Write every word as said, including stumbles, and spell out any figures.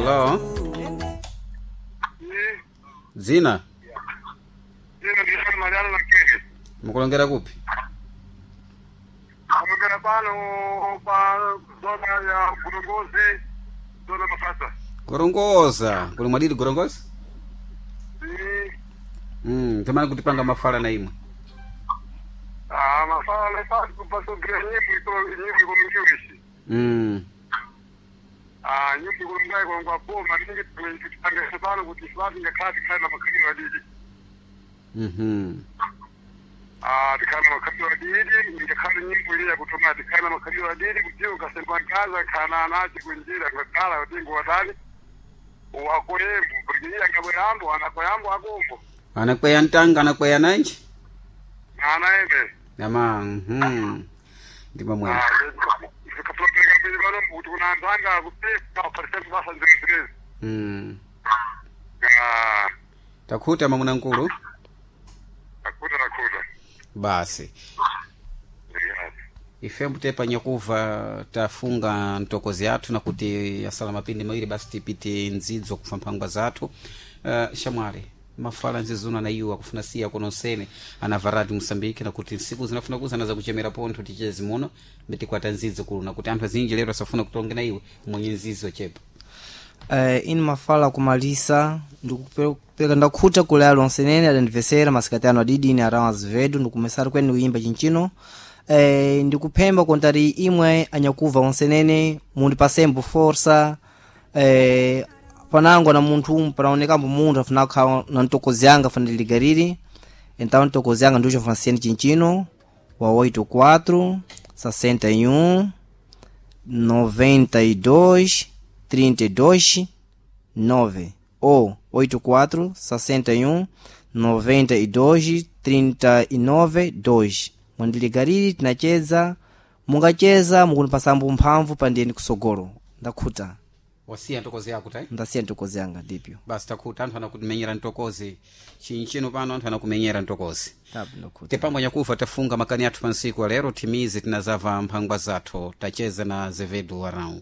Hello, dzina? Dzina ndisana Mariano Nakere. Mukulongera kupi? Kulongera pano pa zona ya Gorongozi, zona Mafasa. Gorongoza. Kuli mwadidi Gorongoza? Mm. Mm, tamani kutipanga mafala na imwe. Ah, mafala lepa kupasogera nyimbo ito nyimbo ikolongiwishi. Mm. Ah, nyimbo ikolongai kolongwa boma ningi tutipanga pano kuti swati ngakhale tikhale na makhalidwe adidi. Mhm. Ah, tikhale na makhalidwe adidi, ngakhale nyimbo ile yakutuma tikhale na makhalidwe adidi kuti ukasemba nkaza khana anachi kunjira ngakhala kuti ngwatani. Wakoyembo, porque iya ngabwerambo anakoyambo akombo. Anakweya ntanga, anakweya nanji? Ana ebe. Ama, mhm. Ndima mwene. Zikapulopeleka mbili pano kuti kuna anthu anga kupeka percent basa nzimzimezi. Mm. Ah, Takhuta mamuna nkulu? akuta nakuta. Basi. Ife mbutepa nyakuva tafunga ntokozi yathu nakuti yasala mapindi mawiri basi tipite ndzidzo kufa mphangwa zathu. Uh, shamwali mafala nzizuna na iwo akufuna siya kononsene anavaradi Moçambique nakuti nsiku zinafuna kuzana zakuchemera pontho tichezi muno mbitikwata nzidzo kulu nakuti anthu azinji lero asafuna kutonga na iwe mwenye nzidzo chepa. Eh, ini mafala kumalisa ndikupeka ndakhuta kule alonsenene adandivesera masikati ano adidi ine arawu azevedo ndikumesari kweni ndikuyimba chinchino. Eh, ndikuphemba kontari imwe anyakuva onsenene mundipasembo forsa. Eh, panango na munthu panaonekambo munthu afuna kukhala na ntokozi yanga afuna ndiligariri. Então ntokozi yanga ndiucho franciene chinchino wa oito quatro sessenta e um noventa e dois trinta e dois nove ou oito quatro sessenta e um noventa e dois trinta e nove dois. Mwandiligariri tinacheza mungacheza mukunipasambo mphamvu pandiyeni kusogolo. Ndakhuta. Wasiya ntokozi yako tai? Ndasiya ntokozi yanga ndipyo. Basi takhuta, anthu anakumenyera ntokozi chinchino pano, anthu anakumenyera ntokozi. Tabu, ndakhuta. Tepambo nyakufa tafunga makani athu pansiku alero timizi tinazava mphangwa zathu tacheza na Zevedo Arão.